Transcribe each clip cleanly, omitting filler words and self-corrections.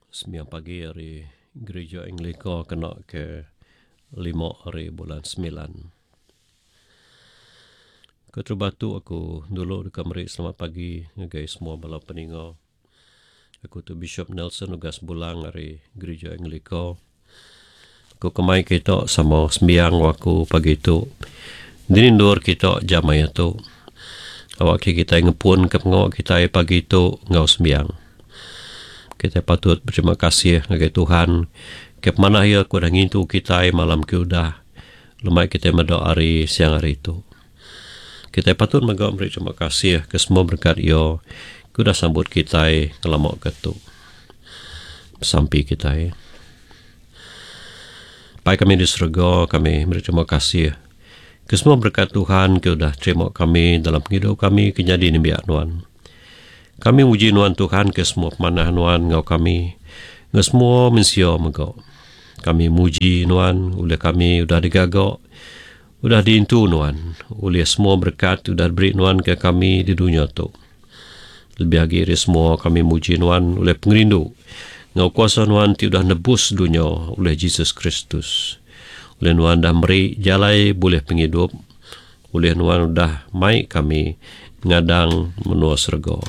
Sembiang pagi ari Gerija Anglika kena ke lima ari bulan semilan. Keterubah tu aku dulu deka meri selamat pagi ngagai semua bala peninga. Aku tu Bishop Nelson Ugas Bulang ari Gerija Anglika. Aku kemai kita sama sembiang enggau aku pagi tu. Dini endur kita jam maya tu. Awak ke kitai ngepun ke pengawa kitai pagi tu enggau sembiang. Kitai patut beterima kasih ngagai Tuhan ke pemanah iya ke udah ngintu kitai malam ke udah lemai kitai meda hari siang hari tu. Kitai patut mega meri terima kasih ke semua berekat iya ke udah sambut kitai ngelama ke tu. Besampi kitai. Pai kami di serega, kami meri terima kasih ke semua berekat Tuhan ke udah terima kami dalam pengidup kami ke nyadi nembiak nuan. Kami muji nuan Tuhan ke semua pemanah nuan enggau kami enggau semua mensia mega. Kami muji nuan ulih kami udah digaga udah diintu nuan ulih semua berekat ti udah diberi nuan ke kami di dunya tu. Lebih agi ari semua kami muji Nuan ulih pengerindu enggau kuasa Nuan ti udah nebus dunya ulih Jesus Kristus. Ulih Nuan udah meri jalai bulih pengidup, ulih Nuan udah mai kami ngadang menua serega.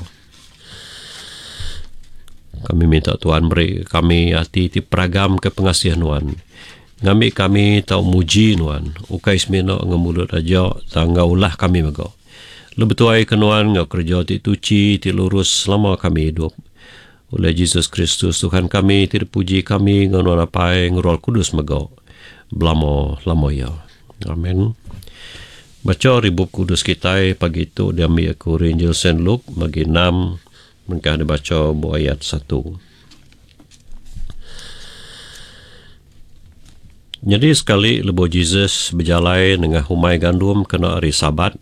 Kami minta Tuhan meri kami ati ti peragam ke pengasih Nuan, ngambi kami tau muji Nuan ukai semina enggau mulut aja tang enggau ulah kami mega. Lalu betuai ke nuan enggau kereja ti tuchi ti lurus selama kami idup. Ulih Jesus Kristus Tuhan kami ti dipuji kami enggau nuan Apai enggau Roh Kudus mega belama lama iya. Amen. Bacha ari Bup Kudus kitai pagi tu diambi aku ari Injil Saint Luke bagi enam mengkah dibacha ba ayat satu. Nyadi sekali lebuh Jesus bejalai nengah umai gandum kena Hari Sabat,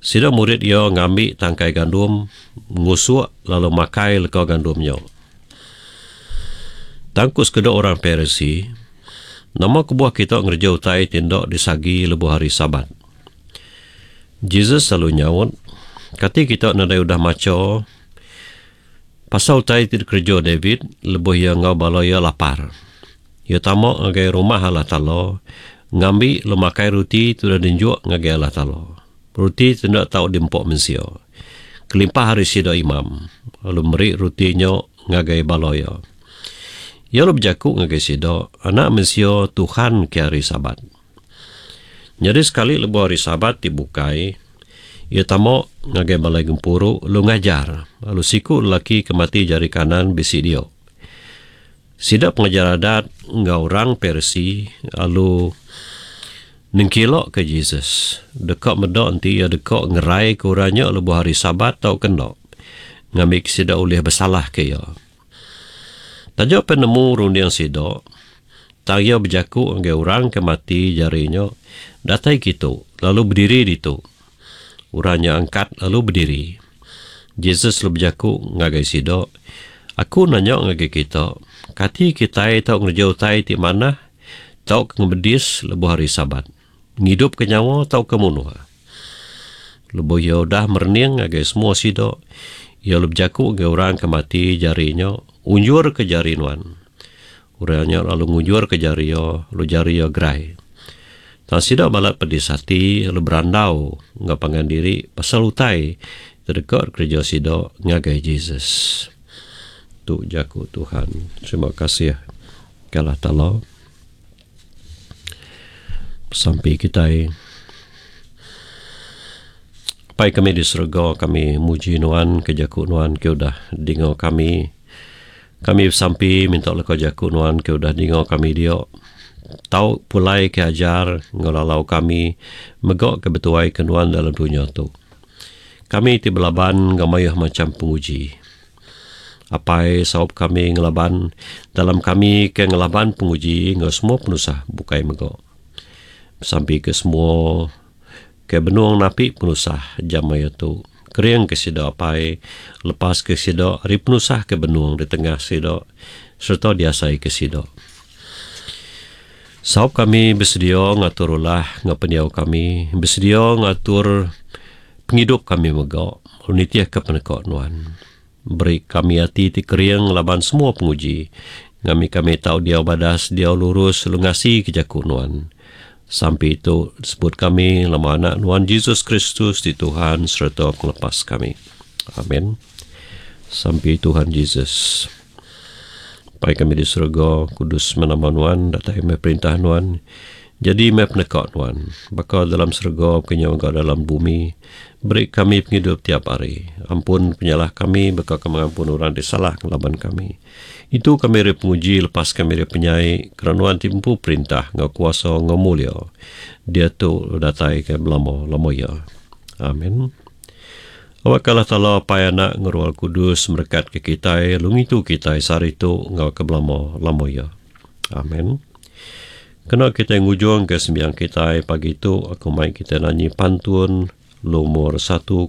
sida murid iya ngambi tangkai gandum, ngusuk lalu makai leka gandum nya. Tang ku sekeda orang Parisi, Nama kebuah kita ngereja utai ti enda disagi lebuh Hari Sabat? Jesus lalu nyaut, Kati kita nadai udah macha Pasal utai ti dikereja David lebuh iya enggau bala iya lapar. Iya tama ngagai rumah Allah Taala, ngambi lalu makai ruti ti udah dinjuk ngagai Allah Taala. Ruti ti enda tau diempa mensia, kelimpah ari sida imam, lalu meri ruti nya ngagai bala iya. Iya lalu bejaku ngagai sida, Anak Mensia Tuhan ke Hari Sabat. Nyadi sekali lebuh Hari Sabat ti bukai, iya tama ngagai balai gempuru lalu ngajar, lalu siku lelaki ke mati jari kanan bisi dia. Sida pengajar Adat enggau orang Parisi lalu nengkilaka Jesus, deka meda enti iya deka ngeraika orang nya lebuh Hari Sabat tauka enda, ngambika sida ulih besalahka iya. Taja pen nemu runding sida, tang iya bejaku ngagai orang ke mati jari nya, Datai kitu, lalu bediri ditu. Orang nya angkat lalu bediri. Jesus lalu bejaku ngagai sida, Aku nanya ngagai kita, kati kitai tau ngereja utai ti manah tauka ngemedis lebuh Hari Sabat, ngidupka nyawa tauka munuh? Lebuh iya udah merening ngagai semua sida, iya lalu bejaku ngagai orang ke mati jari nya, Unjurka jari nuan. Orang nya lalu ngunjurka jari iya, lalu jari iya gerai. Tang sida balat pedis ati lalu berandau enggau pangan diri pasal utai ti deka dikereja sida ngagai Jesus. Tu jaku Tuhan. Terima kasih ke Allah Taala. Sampi kitai. Apai kami di serega, kami muji nuan ke jaku nuan ke udah dinga kami. Kami besampi minta leka jaku nuan ke udah dinga kami dia. Tau pulai ke ajar enggau lalau kami mega ke betuai ke nuan dalam dunya tu. Kami ti belaban enggau mayuh macham penguji. Apai saup kami ngelaban dalam kami ke ngelaban penguji enggau semua penusah bukai mega. Besampi ke semua ke benung napi penusah jam maya tu. Kering ke sida apai, lepas ke sida ari penusah ke benung ditengah sida sereta diasai ke sida. Saup kami besedia ngatur ulah enggau pendiau kami, besedia ngatur pengidup kami mega lalu nitihka peneka nuan. Beri kami ati ti kering laban semua penguji, ngambi kami tau diau badas, diau lurus lalu ngasika jaku Nuan. Sampi tu disebut kami lama Anak Nuan Jesus Kristus ti Tuhan sereta Pengelepas kami. Amen. Sampi Tuhan Jesus. Apai kami di serega, kudus meh nama Nuan, datai meh perintah Nuan, jadi meh peneka Nuan, baka dalam serega baka nya mega dalam bumi. Beri kami pengidup tiap hari. Ampun penyalah kami baka kami ngampun orang ti salah ngelaban kami. Intu kami ari penguji lepas kami ari penyai, kerana Nuan ti empu perintah enggau kuasa enggau mulia, diatu lalu datai ke belama-lama iya. Amen. Awakka Allah Taala Apai Anak enggau Roh Kudus merekatka kitai lalu ngintu kitai sehari tu enggau ke belama-lama iya. Amen. Kena kitai ngujungka sembiang kitai pagi tu, aku mai kitai nanyi pantun lumur 108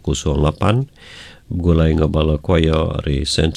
begulai enggau bala choir ari St.